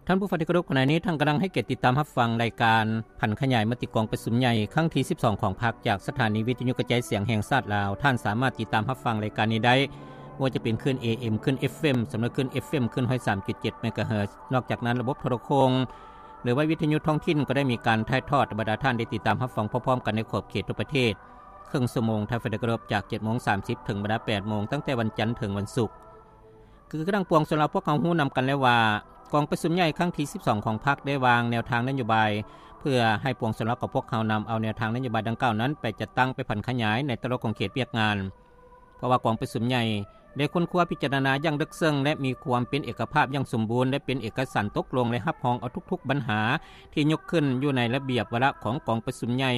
ທ່ານຜູ້ຟັງທີ່ເຄົາລົບ, ຂະນະນີ້ທ່ານກຳລັງໃຫ້ກຽດຕິດຕາມຮັບຟັງລາຍການຜັນຂະຫຍາຍມະຕິກອງປະຊຸມໃຫຍ່ຄັ້ງທີສິບສອງຂອງພັກ ຈາກສະຖານີວິທະຍຸກະຈາຍສຽງແຫ່ງຊາດລາວ. ທ່ານສາມາດຕິດຕາມຮັບຟັງລາຍການນີ້ໄດ້ ບໍ່ວ່າຈະເປັນຄື້ນ ເອເອັມ, ຄື້ນ ເອັຟເອັມ, ສຳລັບຄື້ນ ເອັຟເອັມ, ຄື້ນຮ້ອຍສາມຈຸດເຈັດເມກາເຮີດ. ນອກຈາກນັ້ນ, ລະບົບໂທລະໂຄ່ງ ຫຼືວ່າວິທະຍຸທ້ອງຖິ່ນກໍໄດ້ມີການຖ່າຍທອດໃຫ້ບັນດາທ່ານໄດ້ຕິດຕາມຮັບຟັງພ້ອມໆກັນໃນຂອບເຂດທົ່ວປະເທດ ເຄິ່ງຊົ່ວໂມງ. ທ່ານຜູ້ຟັງທີ່ເຄົາລົບ, ຈາກເຈັດໂມງສາມສິບເຖິງບັນດາແປດໂມງ ຕັ້ງແຕ່ວັນຈັນເຖິງວັນສຸກ. ຄືທາງປວງຊົນລາວພວກເຮົາຮູ້ນຳກັນແລ້ວວ່າ ກອງປະຊຸມໃຫຍ່ຄັ້ງທີສິບສອງຂອງພັກໄດ້ວາງແນວທາງນະໂຍບາຍ ເພື່ອໃຫ້ປວງຊົນລາວຂອງພວກເຮົານຳເອົາແນວທາງນະໂຍບາຍດັ່ງກ່າວນັ້ນໄປຈັດຕັ້ງ, ໄປຜັນຂະຫຍາຍໃນແຕ່ລະຂົງເຂດວຽກງານ. ເພາະວ່າກອງປະຊຸມໃຫຍ່ໄດ້ຄົ້ນຄວ້າພິຈາລະນາຢ່າງເລິກເຊິ່ງ ແລະ ມີຄວາມເປັນເອກະພາບຢ່າງສົມບູນ ແລະ ເປັນເອກະສັນຕົກລົງ ແລະ ຮັບຮອງເອົາທຸກໆບັນຫາທີ່ຍົກຂຶ້ນຢູ່ໃນລະບຽບວາລະຂອງກອງປະຊຸມໃຫຍ່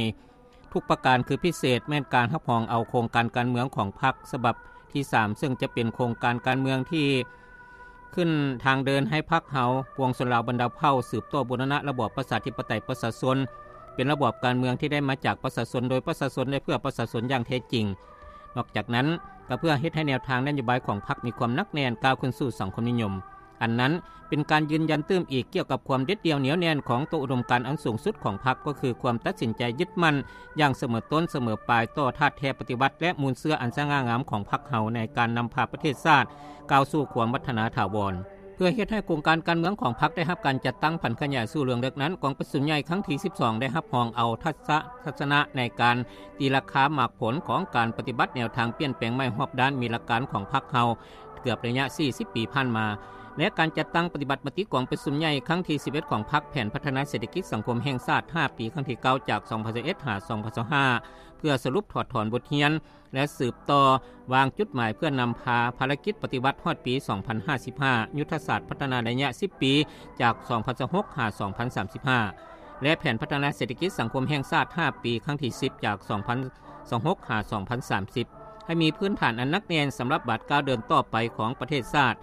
ທຸກປະການ. ຄືພິເສດແມ່ນການຮັບຮອງເອົາໂຄງການການເມືອງຂອງພັກສະບັບທີສາມ ເຊິ່ງຈະເປັນໂຄງການການເມືອງທີ່ຂຶ້ນທາງເດີນໃຫ້ພັກເຮົາ, ປວງຊົນລາວບັນດາເຜົ່າ ສືບຕໍ່ບູລະນະລະບອບປະຊາທິປະໄຕປະຊາຊົນ ເປັນລະບອບການເມືອງທີ່ໄດ້ມາຈາກປະຊາຊົນ, ໂດຍປະຊາຊົນ ແລະ ເພື່ອປະຊາຊົນຢ່າງແທ້ຈິງ. ນອກຈາກນັ້ນ, ກໍເພື່ອເຮັດໃຫ້ແນວທາງນະໂຍບາຍຂອງພັກມີຄວາມໜັກແໜ້ນ ກ້າວຂຶ້ນສູ່ສັງຄົມນິຍົມ. ອັນນັ້ນເປັນການຢືນຢັນຕື່ມອີກກ່ຽວກັບຄວາມເດັດດ່ຽວໜຽວແໜ້ນຂອງໂຕອຸດົມການອັນສູງສຸດຂອງພັກ, ກໍຄືຄວາມຕັດສິນໃຈຍຶດໝັ້ນຢ່າງສະເໝີຕົ້ນສະເໝີປາຍຕໍ່ທາດແທ້ປະຕິວັດ ແລະ ມູນເຊື້ອອັນສະຫງ່າງາມຂອງພັກເຮົາໃນການນຳພາປະເທດຊາດກ້າວສູ່ຄວາມວັດທະນາຖາວອນ. ເພື່ອເຮັດໃຫ້ໂຄງການການເມືອງຂອງພັກໄດ້ຮັບການຈັດຕັ້ງຜັນຂະຫຍາຍສູ່ເລື່ອງເລິກນັ້ນ, ກອງປະຊຸມໃຫຍ່ຄັ້ງທີສິບສອງໄດ້ຮັບຮອງເອົາທັດສະ ທັດສະນະໃນການຕີລາຄາໝາກຜົນຂອງການປະຕິບັດແນວທາງປ່ຽນແປງໃໝ່ຮອບດ້ານ, ມີຫຼັກການຂອງພັກເຮົາ ເກືອບໄລຍະສີ່ສິບປີຜ່ານມາ ແລະ ການຈັດຕັ້ງປະຕິບັດມະຕິກອງປະຊຸມໃຫຍ່ຄັ້ງທີສິບເອັດຂອງພັກ, ແຜນພັດທະນາເສດຖະກິດສັງຄົມແຫ່ງຊາດຫ້າປີຄັ້ງທີເກົ້າ ຈາກສອງພັນຊາວເອັດຫາສອງພັນຊາວຫ້າ ເພື່ອສະຫຼຸບຖອດຖອນບົດຮຽນ ແລະ ສືບຕໍ່ວາງຈຸດໝາຍເພື່ອນຳພາພາລະກິດປະຕິວັດຮອດປີສອງພັນຫ້າສິບຫ້າ, ຍຸດທະສາດພັດທະນາໄລຍະສິບປີ ຈາກສອງພັນຊາວຫົກຫາສອງພັນສາມສິບຫ້າ ແລະ ແຜນພັດທະນາເສດຖະກິດສັງຄົມແຫ່ງຊາດຫ້າປີຄັ້ງທີສິບ ຈາກສອງພັນຊາວຫົກຫາສອງພັນສາມສິບ ໃຫ້ມີພື້ນຖານອັນໜັກແໜ້ນສຳລັບບາດກ້າວເດີນຕໍ່ໄປຂອງປະເທດຊາດ.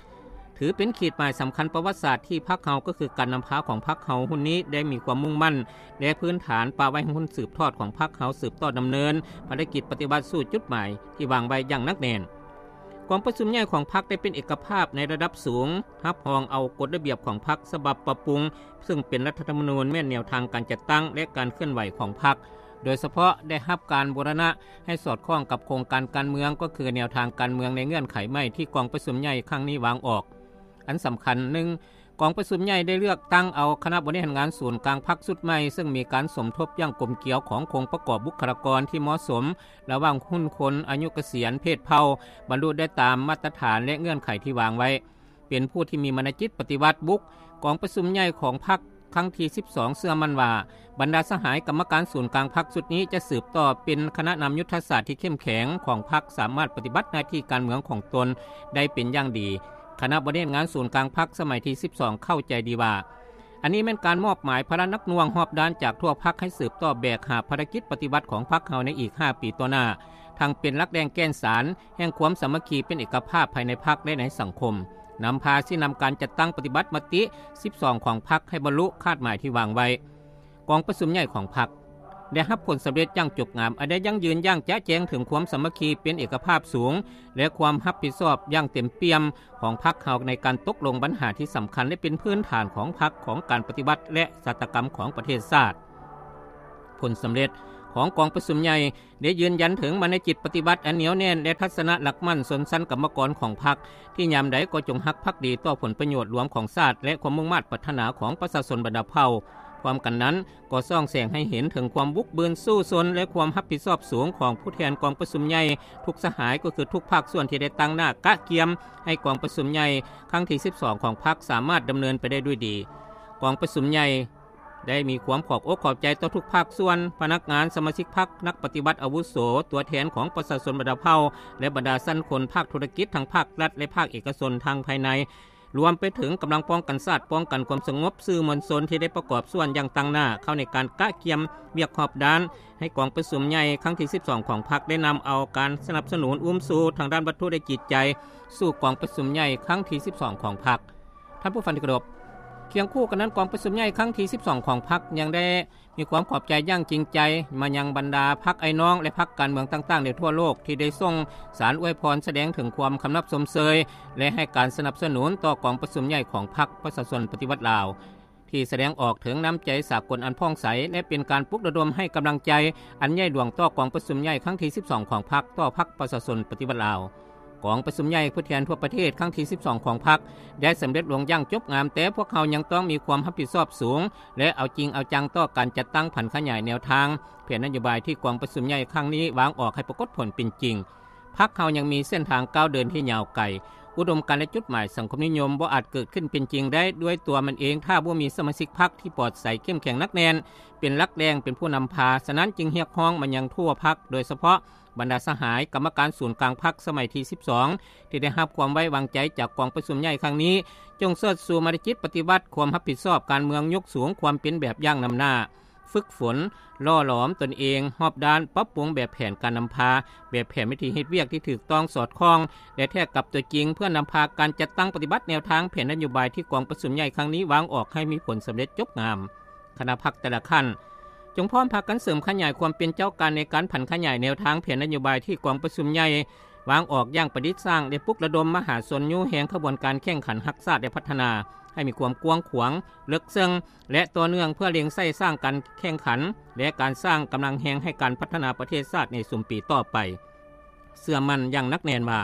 ຖືເປັນຂີດໝາຍສຳຄັນປະຫວັດສາດທີ່ພັກເຮົາ, ກໍຄືການນຳພາຂອງພັກເຮົາຮຸ່ນນີ້ໄດ້ມີຄວາມມຸ່ງໝັ້ນ ແລະ ພື້ນຖານປະໄວ້ໃຫ້ຮຸ່ນສືບທອດຂອງພັກເຮົາສືບຕໍ່ດຳເນີນພາລະກິດປະຕິວັດສູ່ຈຸດໝາຍທີ່ວາງໄວ້ຢ່າງໜັກແໜ້ນ. ກອງປະຊຸມໃຫຍ່ຂອງພັກໄດ້ເປັນເອກະພາບໃນລະດັບສູງ, ຮັບຮອງເອົາກົດລະບຽບຂອງພັກສະບັບປັບປຸງ ເຊິ່ງເປັນລັດຖະທຳມະນູນ, ແມ່ນແນວທາງການຈັດຕັ້ງ ແລະ ການເຄື່ອນໄຫວຂອງພັກ, ໂດຍສະເພາະໄດ້ຮັບການບູລະນະໃຫ້ສອດຄ່ອງກັບໂຄງການການເມືອງ, ກໍຄືແນວທາງການເມືອງໃນເງື່ອນໄຂໃໝ່ທີ່ກອງປະຊຸມໃຫຍ່ຄັ້ງນີ້ວາງອອກ. ອັນສຳຄັນ, ໜຶ່ງ ກອງປະຊຸມໃຫຍ່ໄດ້ເລືອກຕັ້ງເອົາຄະນະບໍລິຫານງານສູນກາງພັກຊຸດໃໝ່, ເຊິ່ງມີການສົມທົບຢ່າງກົມກຽວຂອງໂຄງປະກອບບຸກຄະລາກອນທີ່ເໝາະສົມ ລະຫວ່າງຮຸ່ນຄົນ, ອາຍຸກະສຽນ, ເພດເຜົ່າ, ບັນລຸໄດ້ຕາມມາດຕະຖານ ແລະ ເງື່ອນໄຂທີ່ວາງໄວ້. ເປັນຜູ້ທີ່ມີມານະຈິດປະຕິວັດບຸກ, ກອງປະຊຸມໃຫຍ່ຂອງພັກຄັ້ງທີສິບສອງເຊື່ອໝັ້ນວ່າ ບັນດາສະຫາຍກຳມະການສູນກາງພັກຊຸດນີ້ຈະສືບຕໍ່ເປັນຄະນະນຳຍຸດທະສາດທີ່ເຂັ້ມແຂງຂອງພັກ, ສາມາດປະຕິບັດໜ້າທີ່ການເມືອງຂອງຕົນໄດ້ເປັນຢ່າງດີ. ຄະນະບໍລິຫານງານສູນກາງພັກສະໄໝທີສິບສອງເຂົ້າໃຈດີວ່າ ອັນນີ້ແມ່ນການມອບໝາຍພາລະໜັກໜ່ວງຮອບດ້ານຈາກທົ່ວພັກໃຫ້ສືບຕໍ່ແບກຫາບພາລະກິດປະຕິວັດຂອງພັກເຮົາໃນອີກຫ້າປີຕໍ່ໜ້າ, ທັງເປັນຫຼັກແຫຼ່ງແກ່ນສານແຫ່ງຄວາມສາມັກຄີເປັນເອກະພາບພາຍໃນພັກ ແລະ ໃນສັງຄົມ, ນຳພາຊີ້ນຳການຈັດຕັ້ງປະຕິບັດມະຕິສິບສອງຂອງພັກໃຫ້ບັນລຸຄາດໝາຍທີ່ວາງໄວ້. ກອງປະຊຸມໃຫຍ່ຂອງພັກໄດ້ຮັບຜົນສຳເລັດຢ່າງຈົບງາມ, ອັນໄດ້ຢັ້ງຢືນຢ່າງຈະແຈ້ງເຖິງຄວາມສາມັກຄີເປັນເອກະພາບສູງ ແລະ ຄວາມຮັບຜິດຊອບຢ່າງເຕັມປ່ຽມຂອງພັກເຮົາໃນການຕົກລົງບັນຫາທີ່ສຳຄັນ ແລະ ເປັນພື້ນຖານຂອງພັກ, ຂອງການປະຕິວັດ ແລະ ຊາຕາກຳຂອງປະເທດຊາດ. ຜົນສຳເລັດຂອງກອງປະຊຸມໃຫຍ່ໄດ້ຢືນຢັນເຖິງມານະຈິດປະຕິວັດອັນໜຽວແໜ້ນ ແລະ ທັດສະນະຫຼັກໝັ້ນຊົນຊັ້ນກຳມະກອນຂອງພັກ ທີ່ຍາມໃດກໍຈົ່ງຮັກພັກດີຕໍ່ຜົນປະໂຫຍດລວມຂອງຊາດ ແລະ ຄວາມມຸ່ງມາດປາດຖະໜາຂອງປະຊາຊົນບັນດາເຜົ່າ. ພ້ອມກັນນັ້ນ, ກໍສ່ອງແສງໃຫ້ເຫັນເຖິງຄວາມບຸກບືນສູ້ຊົນ ແລະ ຄວາມຮັບຜິດຊອບສູງຂອງຜູ້ແທນກອງປະຊຸມໃຫຍ່ທຸກສະຫາຍ, ກໍຄືທຸກພາກສ່ວນທີ່ໄດ້ຕັ້ງໜ້າກະກຽມໃຫ້ກອງປະຊຸມໃຫຍ່ຄັ້ງທີສິບສອງຂອງພັກສາມາດດຳເນີນໄປໄດ້ດ້ວຍດີ. ກອງປະຊຸມໃຫຍ່ໄດ້ມີຄວາມຂອບອົກຂອບໃຈຕໍ່ທຸກພາກສ່ວນ, ພະນັກງານ, ສະມາຊິກພັກ, ນັກປະຕິວັດອາວຸໂສ, ຕົວແທນຂອງປະຊາຊົນບັນດາເຜົ່າ ແລະ ບັນດາຊັ້ນຄົນພາກທຸລະກິດ ທັງພາກລັດ ແລະ ພາກເອກະຊົນ ທັງພາຍໃນ ລວມໄປເຖິງກຳລັງປ້ອງກັນຊາດ, ປ້ອງກັນຄວາມສະຫງົບ, ສື່ມວນຊົນທີ່ໄດ້ປະກອບສ່ວນຢ່າງຕັ້ງໜ້າເຂົ້າໃນການກະກຽມວຽກຮອບດ້ານ ໃຫ້ກອງປະຊຸມໃຫຍ່ຄັ້ງທີສິບສອງຂອງພັກ ໄດ້ນຳເອົາການສະໜັບສະໜູນອຸ້ມຊູທາງດ້ານວັດຖຸ ແລະ ຈິດໃຈ ສູ່ກອງປະຊຸມໃຫຍ່ຄັ້ງທີສິບສອງຂອງພັກ. ທ່ານຜູ້ຟັງທີ່ເຄົາລົບ, ຄຽງຄູ່ກັນນັ້ນ, ກອງປະຊຸມໃຫຍ່ຄັ້ງທີສິບສອງຂອງພັກ ຍັງໄດ້ ມີຄວາມຂອບໃຈຢ່າງຈິງໃຈມາຍັງບັນດາພັກອ້າຍນ້ອງ ແລະ ພັກການເມືອງຕ່າງໆໃນທົ່ວໂລກ ທີ່ໄດ້ສົ່ງສານອວຍພອນສະແດງເຖິງຄວາມຄຳນັບຊົມເຊີຍ ແລະ ໃຫ້ການສະໜັບສະໜູນຕໍ່ກອງປະຊຸມໃຫຍ່ຂອງພັກປະຊາຊົນປະຕິວັດລາວ. ທີ່ສະແດງອອກເຖິງນ້ຳໃຈສາກົນອັນຜ່ອງໃສ ແລະ ເປັນການປຸກລະດົມໃຫ້ກຳລັງໃຈອັນໃຫຍ່ຫຼວງຕໍ່ກອງປະຊຸມໃຫຍ່ຄັ້ງທີສິບສອງຂອງພັກ ຕໍ່ພັກປະຊາຊົນປະຕິວັດລາວ. ກອງປະຊຸມໃຫຍ່ຜູ້ແທນທົ່ວປະເທດຄັ້ງທີສິບສອງຂອງພັກ ໄດ້ສຳເລັດລົງຢ່າງຈົບງາມ, ແຕ່ພວກເຮົາຍັງຕ້ອງມີຄວາມຮັບຜິດຊອບສູງ ແລະ ເອົາຈິງເອົາຈັງຕໍ່ການຈັດຕັ້ງຜັນຂະຫຍາຍແນວທາງແຜນນະໂຍບາຍທີ່ກອງປະຊຸມໃຫຍ່ຄັ້ງນີ້ວາງອອກໃຫ້ປາກົດຜົນເປັນຈິງ. ພັກເຮົາຍັງມີເສັ້ນທາງກ້າວເດີນທີ່ຍາວໄກ. ອຸດົມການ ແລະ ຈຸດໝາຍສັງຄົມນິຍົມບໍ່ອາດເກີດຂຶ້ນເປັນຈິງໄດ້ດ້ວຍຕົວມັນເອງ ຖ້າບໍ່ມີສະມາຊິກພັກທີ່ປອດໃສ, ເຂັ້ມແຂງ, ໜັກແໜ້ນ, ເປັນຫຼັກແຫຼ່ງ, ເປັນຜູ້ນຳພາ. ສະນັ້ນຈຶ່ງຮຽກຮ້ອງມາຍັງທົ່ວພັກ, ໂດຍສະເພາະບັນດາສະຫາຍກຳມະການສູນກາງພັກສະໄໝທີສິບສອງ ທີ່ໄດ້ຮັບຄວາມໄວ້ວາງໃຈຈາກກອງປະຊຸມໃຫຍ່ຄັ້ງນີ້, ຈົ່ງເຊີດຊູມາດຕະຈິດປະຕິວັດຄວາມຮັບຜິດຊອບການເມືອງ, ຍົກສູງຄວາມເປັນແບບຢ່າງນຳໜ້າ, ຝຶກຝົນ, ຫຼໍ່ຫຼອມຕົນເອງຮອບດ້ານ, ປັບປຸງແບບແຜນການນຳພາ, ແບບແຜນວິທີເຮັດວຽກທີ່ຖືກຕ້ອງສອດຄ່ອງ ແລະ ແທກກັບຕົວຈິງ, ເພື່ອນຳພາການຈັດຕັ້ງປະຕິບັດແນວທາງແຜນນະໂຍບາຍທີ່ກອງປະຊຸມໃຫຍ່ຄັ້ງນີ້ວາງອອກໃຫ້ມີຜົນສຳເລັດຈົບງາມ. ຄະນະພັກແຕ່ລະຂັ້ນ ຈົ່ງພ້ອມພາກັນເສີມຂະຫຍາຍຄວາມເປັນເຈົ້າການໃນການຜັນຂະຫຍາຍແນວທາງແຜນນະໂຍບາຍທີ່ກອງປະຊຸມໃຫຍ່ວາງອອກຢ່າງປະດິດສ້າງ ແລະ ປຸກລະດົມມະຫາຊົນຍູ້ແຮງຂະບວນການແຂ່ງຂັນຮັກຊາດ ແລະ ພັດທະນາໃຫ້ມີຄວາມກວ້າງຂວາງ, ເລິກເຊິ່ງ ແລະ ຕໍ່ເນື່ອງ ເພື່ອເລັ່ງໃສ່ສ້າງການແຂ່ງຂັນ ແລະ ການສ້າງກຳລັງແຮງໃຫ້ການພັດທະນາປະເທດຊາດໃນຊຸມປີຕໍ່ໄປ. ເຊື່ອໝັ້ນຢ່າງໜັກແໜ້ນວ່າ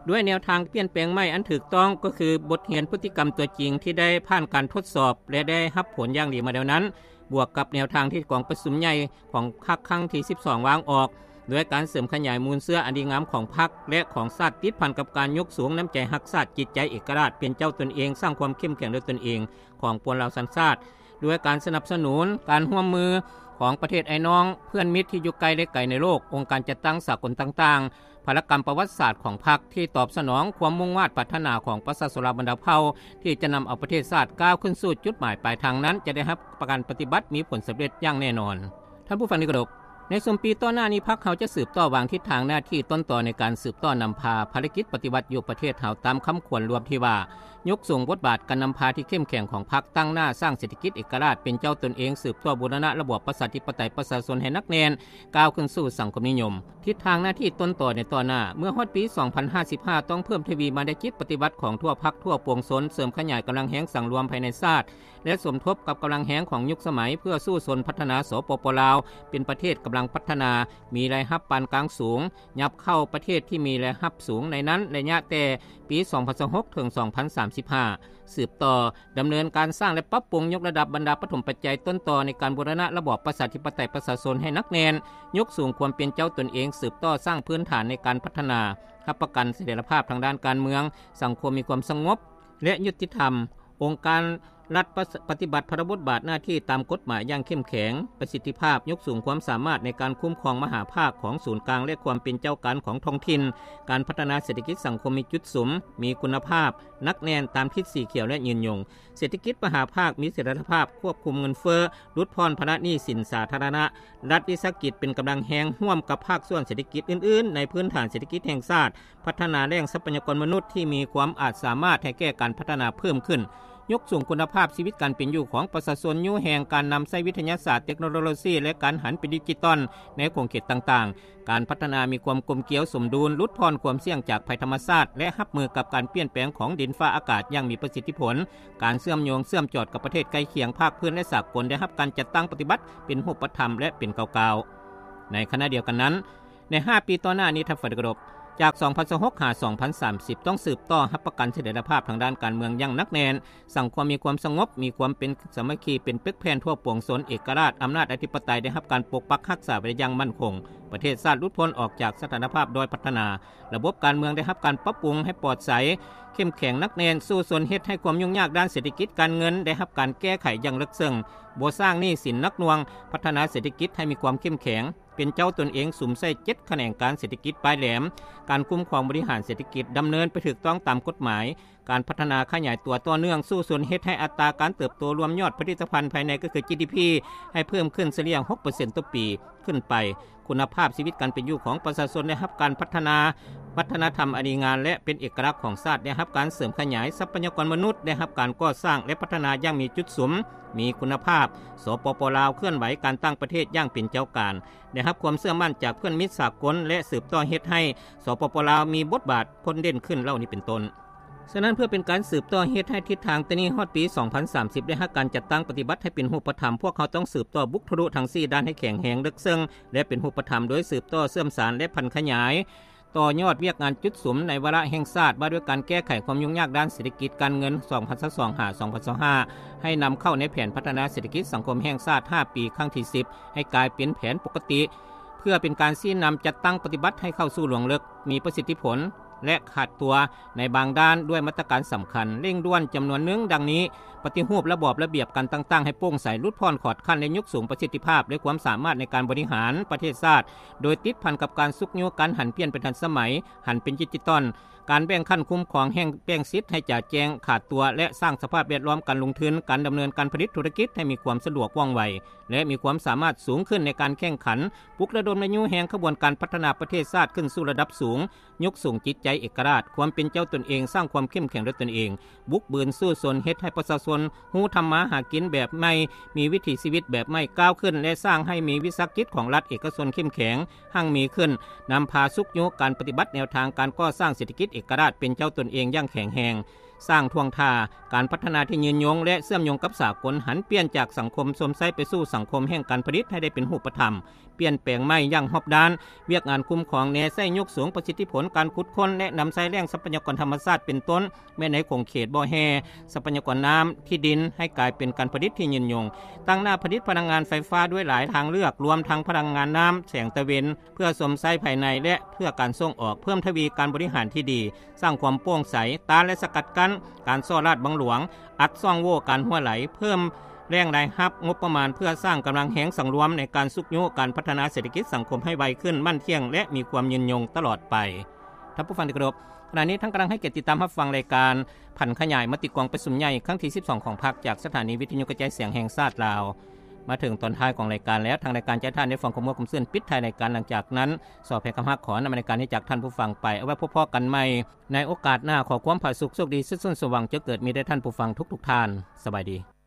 ດ້ວຍແນວທາງປ່ຽນແປງໃໝ່ອັນຖືກຕ້ອງ ກໍຄືບົດຮຽນພຶດຕິກຳຕົວຈິງທີ່ໄດ້ຜ່ານການທົດສອບ ແລະ ໄດ້ຮັບຜົນຢ່າງດີມາແລ້ວນັ້ນ, ບວກກັບແນວທາງທີ່ກອງປະຊຸມໃຫຍ່ຂອງພັກຄັ້ງທີສິບສອງວາງອອກ, ດ້ວຍການເສີມຂະຫຍາຍມູນເຊື້ອອັນດີງາມຂອງພັກ ແລະ ຂອງຊາດ ຕິດພັນກັບການຍົກສູງນ້ຳໃຈຮັກຊາດ, ຈິດໃຈເອກະລາດ, ເປັນເຈົ້າຕົນເອງ, ສ້າງຄວາມເຂັ້ມແຂງດ້ວຍຕົນເອງຂອງປວງລາວສັນຊາດ, ດ້ວຍການສະໜັບສະໜູນການຮ່ວມມືຂອງປະເທດອ້າຍນ້ອງ, ເພື່ອນມິດທີ່ຢູ່ໃກ້ ແລະ ໄກໃນໂລກ, ອົງການຈັດຕັ້ງສາກົນຕ່າງໆ, ພາລະກຳປະຫວັດສາດຂອງພັກທີ່ຕອບສະໜອງຄວາມມຸ່ງມາດປາດຖະໜາຂອງປະຊາຊົນລາວບັນດາເຜົ່າ ທີ່ຈະນຳເອົາປະເທດຊາດກ້າວຂຶ້ນສູ່ຈຸດໝາຍປາຍທາງນັ້ນ ຈະໄດ້ຮັບປະກັນປະຕິບັດມີຜົນສຳເລັດຢ່າງແນ່ນອນ. ທ່ານຜູ້ຟັງທີ່ເຄົາລົບ, ໃນຊຸມປີຕໍ່ໜ້ານີ້ ພັກເຮົາຈະສືບຕໍ່ວາງທິດທາງໜ້າທີ່ຕົ້ນຕໍໃນການສືບຕໍ່ນຳພາພາລະກິດປະຕິວັດຢູ່ປະເທດເຮົາ ຕາມຄຳຂວັນລວມທີ່ວ່າ ຍົກສູງບົດບາດການນຳພາທີ່ເຂັ້ມແຂງຂອງພັກ, ຕັ້ງໜ້າສ້າງເສດຖະກິດເອກະລາດ, ເປັນເຈົ້າຕົນເອງ, ສືບຕໍ່ບູລະນະລະບອບປະຊາທິປະໄຕປະຊາຊົນໃຫ້ໜັກແໜ້ນ, ກ້າວຂຶ້ນສູ່ສັງຄົມນິຍົມ. ທິດທາງໜ້າທີ່ຕົ້ນຕໍໃນຕໍ່ໜ້າ ເມື່ອຮອດປີສອງພັນຫ້າສິບຫ້າ ຕ້ອງເພີ່ມທະວີມາແນວຄິດປະຕິວັດຂອງທົ່ວພັກທົ່ວປວງຊົນ, ເສີມຂະຫຍາຍກຳລັງແຮງສັງລວມພາຍໃນຊາດ ແລະ ສົມທົບກັບກຳລັງແຮງຂອງຍຸກສະໄໝ ເພື່ອສູ້ຊົນພັດທະນາ ສປປ ລາວ ເປັນປະເທດກຳລັງພັດທະນາ, ມີລາຍຮັບປານກາງສູງ, ຫຍັບເຂົ້າປະເທດທີ່ມີລາຍຮັບສູງໃນນັ້ນໄລຍະແຕ່ປີສອງພັນຊາວຫົກ ເຖິງ ສອງພັນສາມສິບຫ້າ. ສືບຕໍ່ດຳເນີນການສ້າງ ແລະ ປັບປຸງຍົກລະດັບບັນດາປະຖົມປັດໄຈຕົ້ນຕໍໃນການບູລະນະລະບອບປະຊາທິປະໄຕປະຊາຊົນໃຫ້ໜັກແໜ້ນ, ຍົກສູງຄວາມເປັນເຈົ້າຕົນເອງ, ສືບຕໍ່ສ້າງພື້ນຖານໃນການພັດທະນາ, ຮັບປະກັນສະຖຽນລະພາບທາງດ້ານການເມືອງ, ສັງຄົມມີຄວາມສະຫງົບ ແລະ ຍຸຕິທຳ, ອົງການລັດປະ ປະຕິບັດພາລະບົດບາດໜ້າທີ່ຕາມກົດໝາຍຢ່າງເຂັ້ມແຂງ, ປະສິດທິພາບ, ຍົກສູງຄວາມສາມາດໃນການຄຸ້ມຄອງມະຫາພາກຂອງສູນກາງ ແລະ ຄວາມເປັນເຈົ້າການຂອງທ້ອງຖິ່ນ, ການພັດທະນາເສດຖະກິດສັງຄົມມີຈຸດສຸມ, ມີຄຸນນະພາບ, ໜັກແໜ້ນຕາມທິດສີຂຽວ ແລະ ຍືນຍົງ. ເສດຖະກິດມະຫາພາກມີສະຖຽນລະພາບ, ຄວບຄຸມເງິນເຟີ້, ຫຼຸດຜ່ອນພາລະໜີ້ສິນສາທາລະນະ, ລັດວິສາຫະກິດເປັນກຳລັງແຮງຮ່ວມກັບພາກສ່ວນເສດຖະກິດອື່ນໆ ໃນພື້ນຖານເສດຖະກິດແຫ່ງຊາດ, ພັດທະນາແຫຼ່ງຊັບພະຍາກອນມະນຸດທີ່ມີຄວາມອາດສາມາດໃຫ້ແກ່ການພັດທະນາເພີ່ມຂຶ້ນ, ຍົກສູງຄຸນນະພາບຊີວິດການເປັນຢູ່ຂອງປະຊາຊົນ, ຍູ້ແຮງການນຳໃຊ້ວິທະຍາສາດ, ເຕັກໂນໂລຊີ ແລະ ການຫັນເປັນດິຈິຕອນໃນຂົງເຂດຕ່າງໆ. ການພັດທະນາມີຄວາມກົມກຽວສົມດຸນ, ຫຼຸດຜ່ອນຄວາມສ່ຽງຈາກໄພທຳມະຊາດ ແລະ ຮັບມືກັບການປ່ຽນແປງຂອງດິນຟ້າອາກາດຢ່າງມີປະສິດທິຜົນ, ການເຊື່ອມໂຍງເຊື່ອມຈອດກັບປະເທດໃກ້ຄຽງ, ພາກພື້ນ ແລະ ສາກົນ ໄດ້ຮັບການຈັດຕັ້ງປະຕິບັດເປັນຮູບປະທຳ ແລະ ເປັນກ້າວໆ. ໃນຂະນະດຽວກັນນັ້ນ, ໃນຫ້າປີຕໍ່ໜ້ານີ້ ທ່ານຜູ້ຟັງທີ່ເຄົາລົບ, ຈາກສອງພັນຊາວຫົກ ຫາ ສອງພັນສາມສິບ ຕ້ອງສືບຕໍ່ຮັບປະກັນສະຖຽນລະພາບທາງດ້ານການເມືອງຢ່າງໜັກແໜ້ນ, ສັງຄົມມີຄວາມສະຫງົບ, ມີຄວາມເປັນສາມັກຄີເປັນປຶກແຜ່ນທົ່ວປວງຊົນ, ເອກະລາດ, ອຳນາດອະທິປະໄຕໄດ້ຮັບການປົກປັກຮັກສາໄວ້ຢ່າງໝັ້ນຄົງ, ປະເທດຊາດຫຼຸດພົ້ນອອກຈາກສະຖານະພາບດ້ອຍພັດທະນາ, ລະບົບການເມືອງໄດ້ຮັບການປັບປຸງໃຫ້ປອດໃສ, ເຂັ້ມແຂງໜັກແໜ້ນ, ສູ້ຊົນເຮັດໃຫ້ຄວາມຫຍຸ້ງຍາກດ້ານເສດຖະກິດການເງິນໄດ້ຮັບການແກ້ໄຂຢ່າງເລິກເຊິ່ງ, ບໍ່ສ້າງໜີ້ສິນໜັກໜ່ວງ, ພັດທະນາເສດຖະກິດໃຫ້ມີຄວາມເຂັ້ມແຂງ, ເປັນເຈົ້າຕົນເອງ, ສຸມໃສ່ເຈັດຂະແໜງການເສດຖະກິດປາຍແຫຼມ, ການຄຸ້ມຄອງບໍລິຫານເສດຖະກິດດຳເນີນໄປຖືກຕ້ອງຕາມກົດໝາຍ, ການພັດທະນາຂະຫຍາຍຕົວຕໍ່ເນື່ອງ, ສູ້ຊົນເຮັດໃຫ້ອັດຕາການເຕີບໂຕລວມຍອດຜະລິດຕະພັນພາຍໃນ ກໍຄື ຈີດີພີ ໃຫ້ເພີ່ມຂຶ້ນສະເລ່ຍຫົກເປີເຊັນຕໍ່ປີຂຶ້ນໄປ, ຄຸນນະພາບຊີວິດການເປັນຢູ່ຂອງປະຊາຊົນໄດ້ຮັບການພັດທະນາ, ວັດທະນະທຳອັນດີງາມ ແລະ ເປັນເອກະລັກຂອງຊາດໄດ້ຮັບການເສີມຂະຫຍາຍ, ຊັບພະຍາກອນມະນຸດໄດ້ຮັບການກໍ່ສ້າງ ແລະ ພັດທະນາຢ່າງມີຈຸດສຸມ, ມີຄຸນນະພາບ, ສປປ ລາວ ເຄື່ອນໄຫວການຕັ້ງປະເທດຢ່າງເປັນເຈົ້າການ, ໄດ້ຮັບຄວາມເຊື່ອໝັ້ນຈາກເພື່ອນມິດສາກົນ ແລະ ສືບຕໍ່ເຮັດໃຫ້ ສປປ ລາວ ມີບົດບາດພົ້ນເດັ່ນຂຶ້ນເຫຼົ່ານີ້ເປັນຕົ້ນ. ສະນັ້ນ ເພື່ອເປັນການສືບຕໍ່ເຮັດໃຫ້ທິດທາງແຕ່ນີ້ຮອດປີສອງພັນສາມສິບ ໄດ້ຮັບການຈັດຕັ້ງປະຕິບັດໃຫ້ເປັນຮູບປະທຳ, ພວກເຮົາຕ້ອງສືບຕໍ່ບຸກທະລຸທັງສີ່ດ້ານໃຫ້ແຂງແຮງເລິກເຊິ່ງ ແລະ ເປັນຮູບປະທຳ, ໂດຍສືບຕໍ່ເຊື່ອມສານ ແລະ ຜັນຂະຫຍາຍ ຕໍ່ຍອດວຽກງານຈຸດສຸມໃນວາລະແຫ່ງຊາດວ່າດ້ວຍການແກ້ໄຂຄວາມຫຍຸ້ງຍາກດ້ານເສດຖະກິດການເງິນ ສອງພັນຊາວສອງ ຫາ ສອງພັນຊາວຫ້າ ໃຫ້ນຳເຂົ້າໃນແຜນພັດທະນາເສດຖະກິດສັງຄົມແຫ່ງຊາດຫ້າປີ ຄັ້ງທີສິບ ໃຫ້ກາຍເປັນແຜນປົກກະຕິ ເພື່ອເປັນການຊີ້ນຳຈັດຕັ້ງປະຕິບັດໃຫ້ເຂົ້າສູ່ລວງເລິກ, ມີປະສິດທິຜົນ ແລະ ຂາດຕົວໃນບາງດ້ານດ້ວຍມາດຕະການສຳຄັນ ເລັ່ງດ່ວນຈຳນວນໜຶ່ງ ດັ່ງນີ້: ປະຕິຮູບລະບອບລະບຽບການຕ່າງໆໃຫ້ໂປ່ງໃສ, ຫຼຸດຜ່ອນຂອດຂັ້ນ ແລະ ຍົກສູງປະສິດທິພາບ ແລະ ຄວາມສາມາດໃນການບໍລິຫານປະເທດຊາດ ໂດຍຕິດພັນກັບການຊຸກຍູ້ການຫັນປ່ຽນເປັນທັນສະໄໝ, ຫັນເປັນດິຈິຕອນ, ການແບ່ງຂັ້ນຄຸ້ມຄອງແຫ່ງແບ່ງສິດໃຫ້ຈະແຈ້ງຂາດຕົວ ແລະ ສ້າງສະພາບແວດລ້ອມການລົງທຶນ, ການດຳເນີນການຜະລິດທຸລະກິດໃຫ້ມີຄວາມສະດວກວ່ອງໄວ ແລະ ມີຄວາມສາມາດສູງຂຶ້ນໃນການແຂ່ງຂັນ, ປຸກລະດົມ ແລະ ຍູ້ແຮງຂະບວນການພັດທະນາປະເທດຊາດຂຶ້ນສູ່ລະດັບສູງ, ຍົກສູງຈິດໃຈເອກະລາດ, ຄວາມເປັນເຈົ້າຕົນເອງ, ສ້າງຄວາມເຂັ້ມແຂງດ້ວຍຕົນເອງ, ບຸກບືນສູ້ຊົນ, ເຮັດໃຫ້ປະຊາຊົນຮູ້ທຳມາຫາກິນແບບໃໝ່, ມີວິຖີຊີວິດແບບໃໝ່, ກ້າວຂຶ້ນ ແລະ ສ້າງໃຫ້ມີວິສາຫະກິດຂອງລັດເອກະຊົນເຂັ້ມແຂງ, ຮັ່ງມີຂຶ້ນ, ນຳພາຊຸກຍູ້ການປະຕິບັດແນວທາງການກໍ່ສ້າງເສດຖະກິດເອກະລາດເປັນເຈົ້າຕົນເອງຢ່າງແຂງແຮງ, ສ້າງທ່ວງທ່າການພັດທະນາທີ່ຍືນຍົງ ແລະ ເຊື່ອມໂຍງກັບສາກົນ, ຫັນປ່ຽນຈາກສັງຄົມຊົມໃຊ້ໄປສູ່ສັງຄົມແຫ່ງການຜະລິດໃຫ້ໄດ້ເປັນຮູບປະທຳ, ປ່ຽນແປງໃໝ່ຢ່າງຮອບດ້ານ, ວຽກງານຄຸ້ມຄອງແນໃສ່ຍົກສູງປະສິດທິຜົນການຂຸດຄົ້ນ ແລະ ນຳໃຊ້ແຫຼ່ງຊັບພະຍາກອນທຳມະຊາດ ເປັນຕົ້ນ ແມ່ນໃນຂົງເຂດບໍ່ແຮ່, ຊັບພະຍາກອນນ້ຳ, ທີ່ດິນ ໃຫ້ກາຍເປັນການຜະລິດທີ່ຍືນຍົງ, ຕັ້ງໜ້າຜະລິດພະລັງງານໄຟຟ້າດ້ວຍຫຼາຍທາງເລືອກ, ລວມທັງພະລັງງານນ້ຳ, ແສງຕາເວັນ, ເພື່ອຊົມໃຊ້ພາຍໃນ ແລະ ເພື່ອການສົ່ງອອກ, ເພີ່ມທະວີການບໍລິຫານທີ່ດີ, ສ້າງຄວາມໂປ່ງໃສ, ຕ້ານ ແລະ ສະກັດກັ້ນການສໍ້ລາດບັງຫຼວງ, ອັດຊ່ອງໂຫວ່ການຮົ່ວໄຫຼ, ເພີ່ມແຫຼ່ງລາຍຮັບງົບປະມານ ເພື່ອສ້າງກຳລັງແຮງສັງລວມໃນການຊຸກຍູ້ການພັດທະນາເສດຖະກິດສັງຄົມໃຫ້ໄວຂຶ້ນ, ໝັ້ນທ່ຽງ ແລະ ມີຄວາມຍືນຍົງຕະຫຼອດໄປ. ທ່ານຜູ້ຟັງທີ່ເຄົາລົບ, ຂະນະນີ້ທ່ານກຳລັງໃຫ້ກຽດຕິດຕາມຮັບຟັງລາຍການຜັນຂະຫຍາຍມະຕິກອງປະຊຸມໃຫຍ່ຄັ້ງທີສິບສອງຂອງພັກ ຈາກສະຖານີວິທະຍຸກະຈາຍສຽງແຫ່ງຊາດລາວ. ມາເຖິງຕອນທ້າຍຂອງລາຍການແລ້ວ, ທາງລາຍການຈະໃຫ້ທ່ານໄດ້ຟັງຄວາມມ່ວນຄວາມຊື່ນປິດທ້າຍລາຍການ. ຫຼັງຈາກນັ້ນ, ຊໍແພຄຳຮັກ ຂໍນຳລາຍການນີ້ຈາກທ່ານຜູ້ຟັງໄປ. ເອົາໄວ້ພົບພໍ້ກັນໃໝ່ໃນໂອກາດໜ້າ. ຂໍຄວາມຜາສຸກ, ໂຊກດີ, ສຸກຊອນ, ສວ່າງເຈີເກີດມີແດ່ທ່ານຜູ້ຟັງທຸກໆທ່ານ. ສະບາຍດີ.